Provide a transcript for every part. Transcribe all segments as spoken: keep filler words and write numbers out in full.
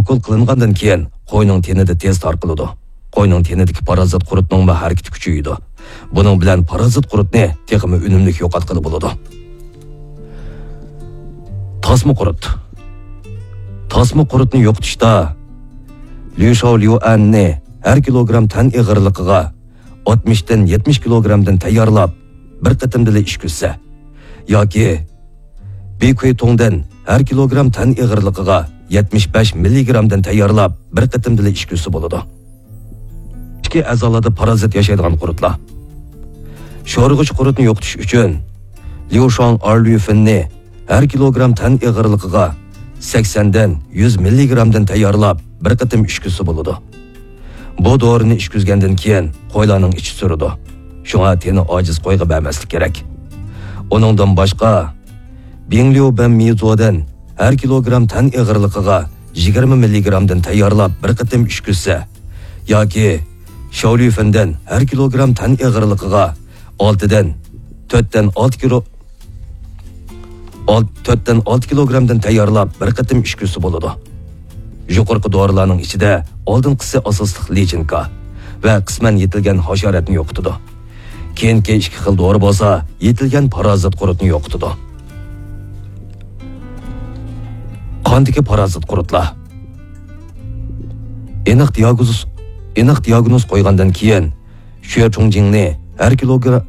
ئوكۇل قىلىنغاندىن كېيىن قوينىڭ تېنىدە تېز تارقىلىدۇ. قوينىڭ تېنىدىكى پارازىت قۇرتنىڭمۇ ھەرىكىتى كۈچىيىدۇ. بۇنىڭ بىلەن پارازىت قۇرتنى تېخىمۇ ئۈنۈملۈك يوقاتقىلى بولىدۇ. تاسما قۇرت. تاسما قۇرتنى يوقىتىشتا ليۇشاۋ ليۇئەننى ھەر كىلوگرام تەن ئېغىرلىقىغا ئاتمىشتىن يەتمىش كىلوگرامدىن تەييارلاپ، بىر قېتىمدىلا ئىچكۈزسە، ياكى بىكۇيتۇڭدىن ھەر كىلوگرام تەن ئېغىرلىقىغا يەتمىش بەش مىللىگرامدىن تەييارلاپ، بىر قېتىمدىلا ئىچكۈزسە بولىدۇ. ئىچكى ئەزالاردا پارازىت ياشايدىغان قۇرتلار. شورىغۇچ قۇرتنى يوقىتىش ئۈچۈن ليۇشاڭ ئارليۇفېننى ھەر كىلوگرام تەن ئېغىرلىقىغا سەكسەندىن يۈز مىللىگرامدىن تەييارلاپ، بىر قېتىم ئىچكۈزسە بولىدۇ. بۇ دورىنى ئىچكۈزگەندىن كېيىن قويلارنىڭ ئىچى سۈرىدۇ. شۇڭا تېنى ئاجىز قويغا بەرمەسلىك كېرەك. ئۇنىڭدىن باشقا، بىڭليۇ بەن مىزودىن ھەر كىلوگرام تەن ئېغىرلىقىغا يىگىرمە مىللىگرامدىن تەييارلاپ، بىر قېتىم ئىچكۈزسە، ياكى شاۋليۇفېندىن ھەر كىلوگرام تەن ئېغىرلىقىغا ئالتىدىن، تۆتتىن ئالتە كىلو، ئال-، تۆتتىن ئالتە كىلوگرامدىن تەييارلاپ، بىر قېتىم ئىچكۈزسە بولىدۇ. يۇقىرىقى دورىلارنىڭ ئىچىدە ئالدىنقىسى ئاساسلىق لىچىنكا ۋە قىسمەن يېتىلگەن ھاشاراتنى يوقىتىدۇ. كېيىنكى ئىككى خىل دورا بولسا يېتىلگەن پارازىت قۇرتنى يوقىتىدۇ. قاندىكى پارازىت قۇرتلار. ئېنىق دىياگنوز، ئېنىق دىياگنوز قويغاندىن كېيىن، شۈەچۇڭجىڭنى ھەر كىلوگرام،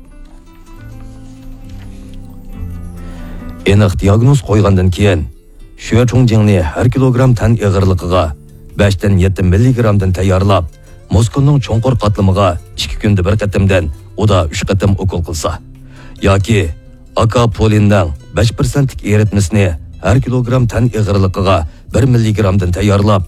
ئېنىق دىياگنوز قويغاندىن كېيىن، شۈەچۇڭجىڭنى ھەر كىلوگرام تەن ئېغىرلىقىغا بەشتىن يەتتە مىللىگرامدىن تەييارلاپ، مۇسكۇلنىڭ چوڭقۇر قاتلىمىغا ئىككى كۈندە بىر قېتىمدىن ئۇدا ئۈچ قېتىم ئوكۇل قىلسا، ياكى ئاكاپولىننىڭ بەش پىرسەنتلىك ئېرىتمىسىنى ھەر كىلوگرام تەن ئېغىرلىقىغا بىر مىللىگرامدىن تەييارلاپ،